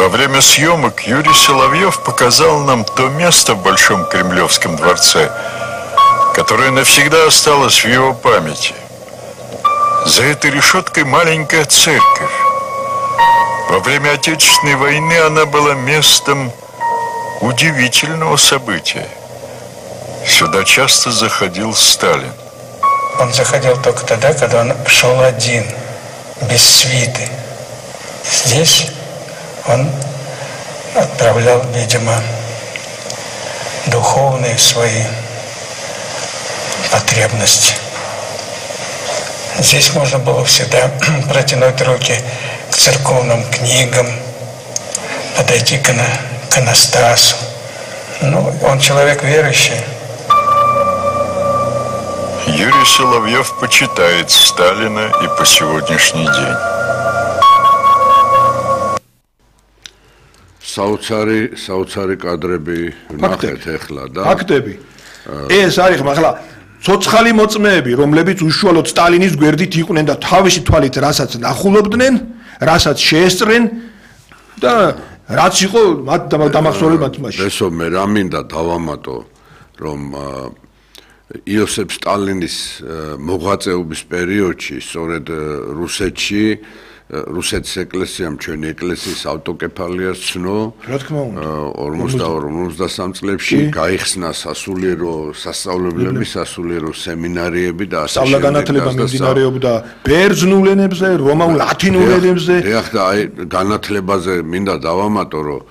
Во время съемок Юрий Соловьев показал нам то место в Большом Кремлевском дворце, которое навсегда осталось в его памяти. За этой решеткой маленькая церковь. Во время Отечественной войны она была местом удивительного события. Сюда часто заходил Сталин. Он заходил только тогда, когда он шел один, без свиты. Здесь он отправлял, видимо, духовные свои потребности. Здесь можно было всегда протянуть руки к церковным книгам, подойти к иконостасу. Ну, он человек верующий. Юрий Соловьев почитает Сталина и по сегодняшний день. საოცარი კადრები ნახეთ ახლა და ფაქტები. ეს არის ახლა ცოცხალი მოწმეები, რომლებიც უშუალოდ სტალინის გვერდით იყვნენ და თავისი თვალით რასაც ნახულობდნენ, რასაც შეესწრენ და რაც იყო მათ დამახსოვრებად მაშინ. ესო მე რა მინდა დავამატო, რომ იოსებ სტალინის მოღვაწეობის პერიოდში, სწორედ რუსეთში რუსეთის ეკლესიამ ჩვენი ეკლესიის ავტოკეფალიას ცნო 52-53 წლებში გაიხსნა სასწავლებლები, სასულიერო სემინარიები და ასე შემდეგ. სწავლა-განათლება მიმდინარეობდა ბერძნულ ენებზე, რომაულ ლათინურ ენებზე. დიახ და აი განათლებაზე მინდა დავამატო, რომ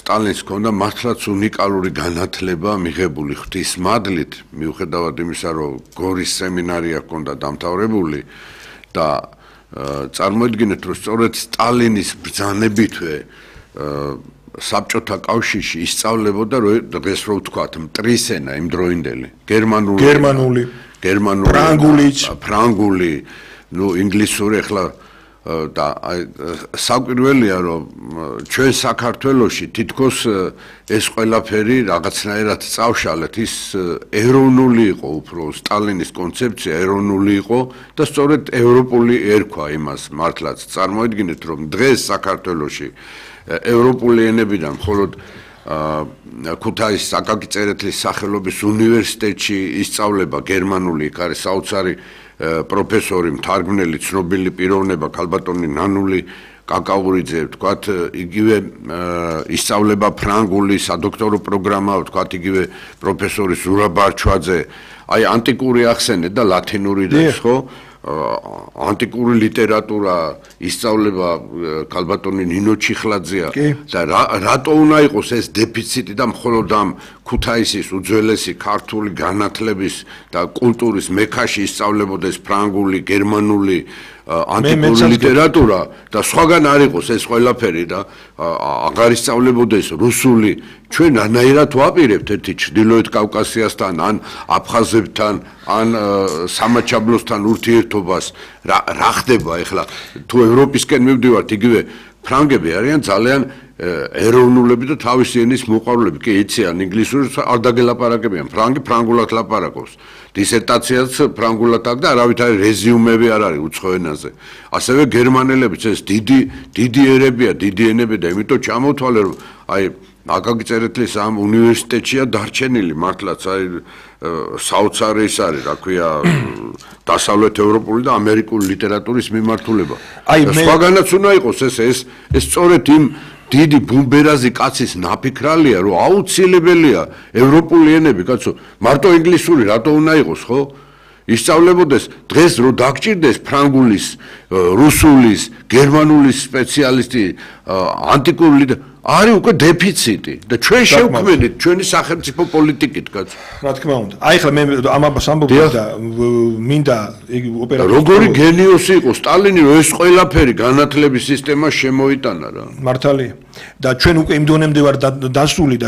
სტალინს ჰქონდა მართლაც უნიკალური განათლება მიღებული ღვთისმადლით, მიუხედავად იმისა, რომ გორის სემინარია ჰქონდა დამთავრებული და წარმოიდგინეთ, რომ სწორედ სტალინის ბრძანებითვე საბჭოთა კავშირში ისწავლებოდა დღეს რო ვთქვათ მტრისენა იმდროინდელი გერმანული ფრანგული ნუ ინგლისური ახლა და საკვირველია რომ ჩვენ საქართველოში თითქოს ეს ყველაფერი რაღაცნაირად წავშალეთ ის ეროვნული იყო უფრო სტალინის კონცეფცია ეროვნული იყო და სწორედ ევროპული ერქვა იმას მართლაც წარმოიდგინეთ რომ დღეს საქართველოში ევროპული ენებიდან მხოლოდ ქუთაისის აკაკი წერეთლის სახელობის უნივერსიტეტში ისწავლება გერმანული იქ არის საოცარი პროფესორი მთარგმნელი ცნობილი პიროვნება ქალბატონი ნანული კაკაურიძე ვთქვათ იგივე ისწავლება ფრანგული სადოქტორო პროგრამა ვთქვათ იგივე პროფესორი ზურაბ ბარჩვაძე აი ანტიკური ახსენეთ და ლათინური და ხო ანტიკური ლიტერატურა ისწავლება ქალბატონი ნინო ჩიხლაძეა და რატო უნდა იყოს ეს დეფიციტი და მხოლოდ ამ ქუთაისის უძველესი ქართული განათლების და კულტურის მექაში ისწავლებოდეს ფრანგული, გერმანული, ანტიკური ლიტერატურა და სხვაგან არ იყოს ეს ყველაფერი და აღარ ისწავლებოდეს რუსული ჩვენ ანაირად ვაპირებთ ერთი ჩრდილოეთ კავკასიასთან ან აფხაზებთან ან სამაჩაბლოსთან ურთიერთობას რა ხდება ახლა თუ ევროპისკენ მივდივართ იგივე ფრანგები არიან ძალიან ეროვნულები და თავისი ენის მოყვარულები კი იციან ინგლისურს არ დაგელაპარაკებიან ფრანგულად ლაპარაკობს დისერტაციაც ფრანგულად აქვს და არავითარი რეზიუმები არ არის უცხო ენაზე ასევე გერმანელებიც ეს დიდი ერებია დიდი ენები და იმიტომ ჩამოთვალე რომ აი აკაკი წერეთლის ამ უნივერსიტეტშია დარჩენილი მართლაც აი საოცარი ის არის რა ქვია დასავლეთ ევროპული და ამერიკული ლიტერატურის მიმართულება აი სხვაგანაც უნდა იყოს ეს სწორედ იმ დიდი ბუმბერაზი კაცის ნაფიქრალია რომ აუცილებელია ევროპული ენები კაცო მარტო ინგლისური რატო უნდა იყოს ხო ისწავლებოდეს დღეს რო დაგჭირდეს ფრანგულის რუსულის გერმანულის სპეციალისტი ანტიკური არის უკვე დეფიციტი და ჩვენ შევქმნით ჩვენი სახელმწიფო პოლიტიკით კაცო რა თქმა უნდა აი ხლა მე ამას ამბობ და მინდა იგი ოპერატორი როგორი გენიოსი იყო სტალინი რომ ეს ყველაფერი განათლების სისტემა შემოიტანა რა მართალია და ჩვენ უკვე იმ დონემდე ვარ დასული